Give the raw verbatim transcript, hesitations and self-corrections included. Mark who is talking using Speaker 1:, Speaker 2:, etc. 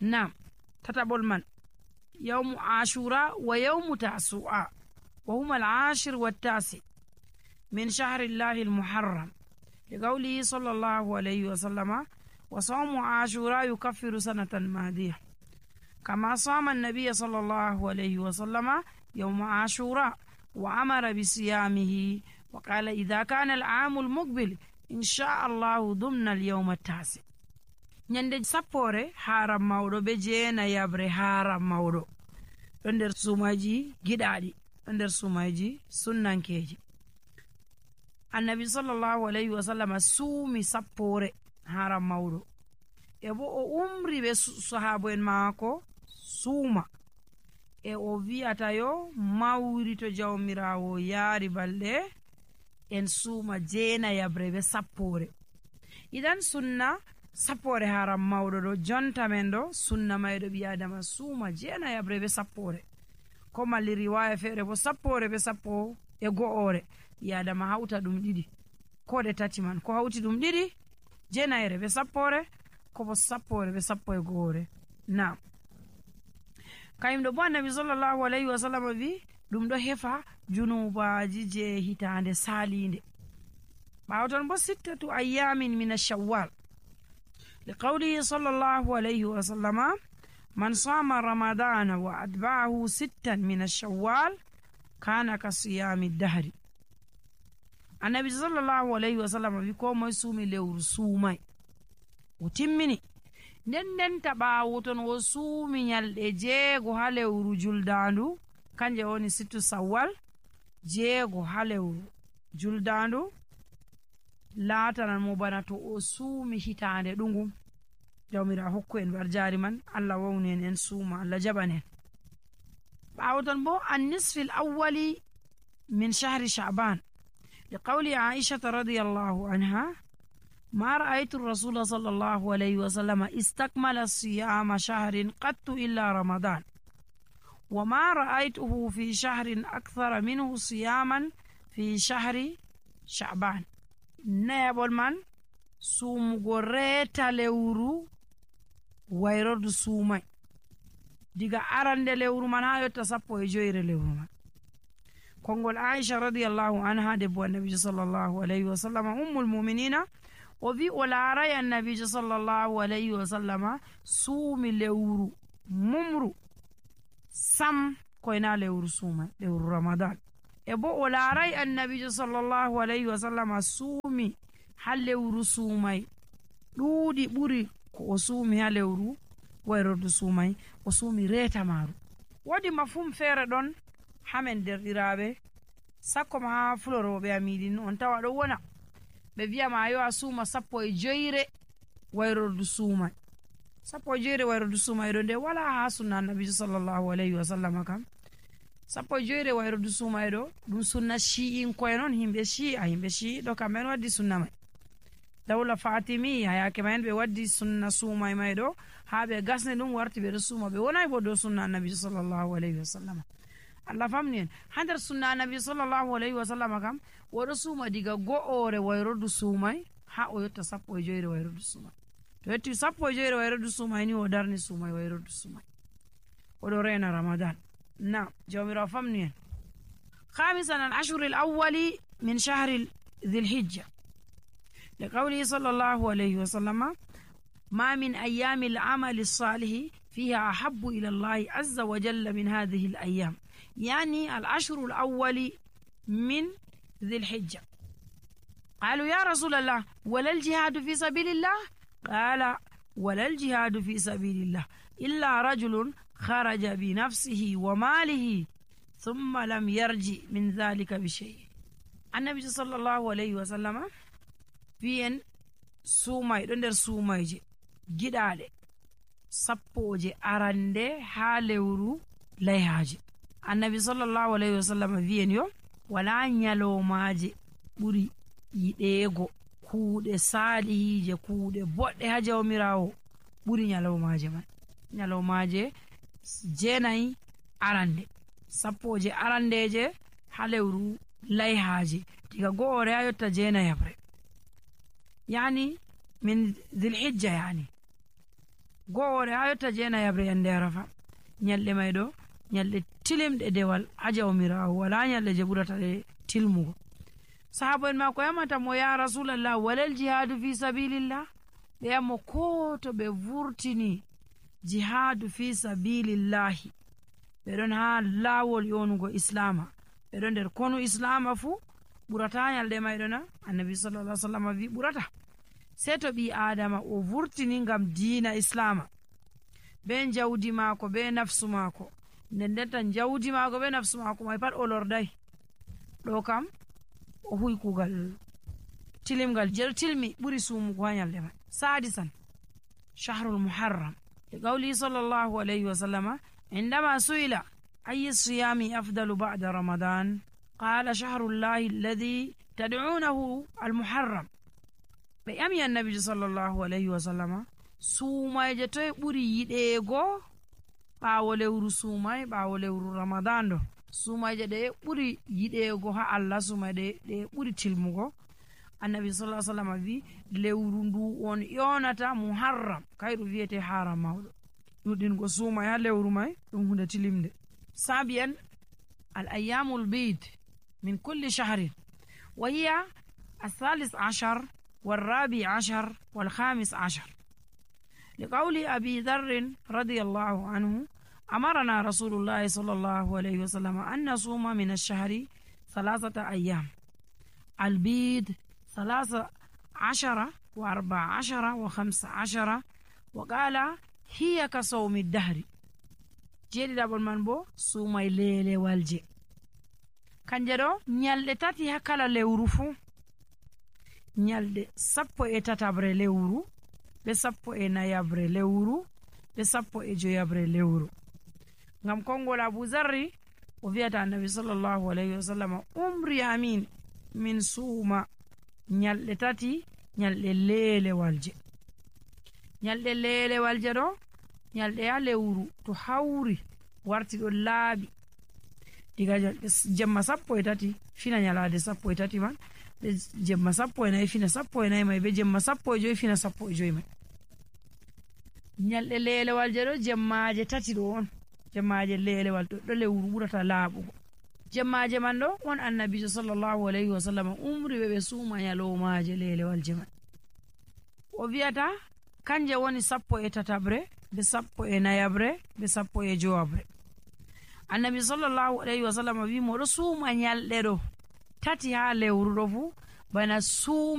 Speaker 1: Nam tataɓol man yawmu ashura wa yawmu tasu'a wa huma al-ashir wa at-tasi min shahri llahi al-muharram liqawlihi sallallahu alayhi wa sallama wa sawmu ashura yukaffiru sanatan madiyah kama sama an-nabiy sallallahu alayhi wa sallama yawma ashura wa amara bi siyamihi wa qala idha kana al-aam al-muqbil insha Allah dumna al-yawm at-tasi. Nyande sappore haram mawɗo be jeena yabre haram mawɗo ɗo nder sumaji giɗaɗi ɗo nder sumaji sunnankeji. Annabi sallallahu alayhi wa sallam suumi sappore haram mawɗo e bo o umri be sahabo en maako suuma e o wi'ata yo mawri to jawmirawo yaari balɗe en suuma jeena yabre be sappore. Idan sunna sappore haram mawɗo ɗo jonta men ɗo sunna mayɗo ɓi adama suuma jeena yabre be sappore ko malli riwaya feere bo sappore be sappo e go'ore ɓi adama hawta ɗum ɗiɗi ko ɗe tati man ko hawti ɗum ɗiɗi jeenayere be sappore ko bo sappore be sappo e go'ore. Nam kayum ɗo bo annabi sallallahu alayhi wa sallam wi ɗum ɗo hefa junubaji je hitande salinde. ɓawo ton bo sittatu ayyamin min ash-shawwal liqawlihi sallallahu alayhi wa sallama man sama ramadana wa atba'ahu sittan min ash-shawwal kana ka siyami dahri. Annabi sallallahu alayhi wa sallam wi ko moy suumi lewru suumay o timmini nden ndenta ɓawo ton o suumi nyalɗe jeego ha lewru juldandu kanje woni sittu sawwal jeego ha lewru juldandu laatanan mo bana to o suumi hitande ɗungum. Jawmira hokku en barjari man Allah wawni en en suuma Allah jaɓanen. ɓawo ton bo an-nisfi al-awwali min shahri sha'ban liqawli Aisha radiyallahu anha ما رأيت الرسول صلى الله عليه وسلم استكمل صيام شهر قط إلا رمضان وما رأيته في شهر أكثر منه صياما في شهر شعبان. نيبول من سوم غوريتا لورو ويرد سومي ديغا أرند لورو من هايو تسابو يجوير لورو من كونغول عائشة رضي الله عنها دبو النبي صلى الله عليه وسلم أم المؤمنين وفي أولاري النبي صلى الله عليه وسلم سومي لورو ممرو سم كوينا لورو سومي لورو رمضان ebo o laaray annabijo sallallahu alayhi wa sallam suumi ha lewru suumay ɗuuɗi ɓuri ko o suumi ha lewru wayrordu suumay o suumi reeta maaru. Woodi mafhum feere ɗon hamen derɗiraaɓe sakko ma ha fulorooɓe amiɗin on tawa ɗo wona ɓe wiyama yo a suuma sappo e joyre wayrordu suumay. Sappo e joyre wayrordu suumay ɗo nde wala ha sunna annabijo sallallahu alayhi wa sallam kam. Sappo e joyre wayrordu suumay ɗo ɗum sunna shi'in koye noon himɓe shi'a himɓe shi'i ɗo kamɓe waddi sunna may. Dawla Fatimi hayake men ɓe waddi sunna suumay may ɗo ha ɓe gasne ɗum warti ɓe ɗo suuma ɓe wonay bo dow sunna annabi sallallahu alayhi wa sallam. Allah famni en ha nder sunna annabi sallallahu alayhi wa sallam kam oɗo suuma diga go'ore wayrordu suumay ha o yotta sappo e joyre wayrordu suumay. To yetti sappo e joyre wayrordu suumay ni o darni suumay wayrordu suumay oɗo rena Ramadan. نعم جوامر فمنين. خامسا العشر الأول من شهر ذي الحجة لقوله صلى الله عليه وسلم ما من أيام العمل الصالح فيها أحب إلى الله عز وجل من هذه الأيام يعني العشر الأول من ذي الحجة. قالوا يا رسول الله ولا الجهاد في سبيل الله؟ قال ولا الجهاد في سبيل الله إلا رجل خرج بنفسه وماله ثم لم يرجع من ذلك بشيء. النبي صلى الله عليه وسلم فين سوماي دندر سومايجي giɗaɗe sappoje arande ha lewru layhaji. Annabi sallallahu alayhi wa sallam wiyen yo wala nyalomaje ɓuri yiɗego kuuɗe salihije kuuɗe boɗɗe ha jawmirawo ɓuri nyalomaje man. Nyalomaje jeenayi arande sappoje arandeje ha lewru layhaji diga go'ore ha yotta jeenayabre yani min dhilhijja yani go'ore ha yotta jeenayabre yande arafa nyalɗe may ɗo nyalɗe tilimɗe dewal ha jawmirawo wala nyalɗe je ɓurata ɗe tilmugo. sahaba en mako yamata mo ya rasulallah walal jihadu fi sabilillah, ɓe yammo ko to ɓe vurtini jihadu fi sabilillahi ɓe ɗon ha lawol yonugo islama, ɓe ɗon nder konu islama fuu ɓurata nyalɗe mayɗo na? Annabi sallallahu alaihi wasallam wi ɓurata. sei to ɓi adama o vurtini ngam diina islama be jawdi maako be nafsu maako, nden nden tan jawdi maako be nafsu maako may pat o lordai, ɗo kam o huwi kugal tilimgal je tilmi ɓuri sumugo ha nyalɗe may. sadisan shahrul muharram li qawli sallallahu alaihi wasallama indama suila ayi siyami afdalu ba'da ramadan qala shahrullahi alladhi tad'unahu almuharram. ɓe ƴami annabijo sallallahu alaihi wasallama sumayje toye ɓuri yiɗeego ɓaawo lewru sumay ɓaawo lewru ramadan ɗo, sumayje ɗe ɓuri yiɗeego ha Allah, sumayɗe ɗe ɓuri tilmugo. annabi sallallahu alaihi wasallam wi lewru ndu on yonata muharram, kayru wiyete haram mawɗo. ɗuɗingo sumay ha lewru may ɗum hunde tilimde. sabiyan al ayyamul bid min kulli shahrin wa hiya athalis ashar والرابع عشر والخامس عشر لقول أبي ذر رضي الله عنه أمرنا رسول الله صلى الله عليه وسلم أن نصوم من الشهر ثلاثة أيام البيض ثلاثة عشر وأربع عشر وخمس عشر وقال هي كصوم الدهر. جيدي دابل من بو سومي ليلي والجي kanjero nyalɗe tati ha kala lewru fuu, nyalɗe sappo e tatabre lewru be sappo e nayabre lewru be sappo e joyabre lewru. ngam kongol Abu Zarri o wiyata annabi sallallahu alaihi wasallam umri amin min suuma nyalɗe tati nyalɗe lelewalje. nyalɗe lelewalje ɗo nyalɗe ha lewru to hawri warti ɗo laaɓi diga jemma sappo e tati fina nyalade sappo e tati man, be jemma sappo e nayi fina sappo e nayi may, be jemma sappo e joyi fina sappo e joyi may. nyalɗe lelewalje ɗo jemmaje tati ɗo on, jemmaje lelewal ɗo ɗo lewru ɓurata laaɓugo. jemmaje man ɗo on annabijo sallallahu alaihi wasallam umri ɓe ɓe suuma nyalomaje lelewalje man. o wiyata kanje woni sappo e tatabre be sappo e nayabre be sappo e jowabre. annabi sallallahu alaihi wasallam wi moɗo suuma nyalɗe ɗo tati ha lewru ɗo fu bana suuma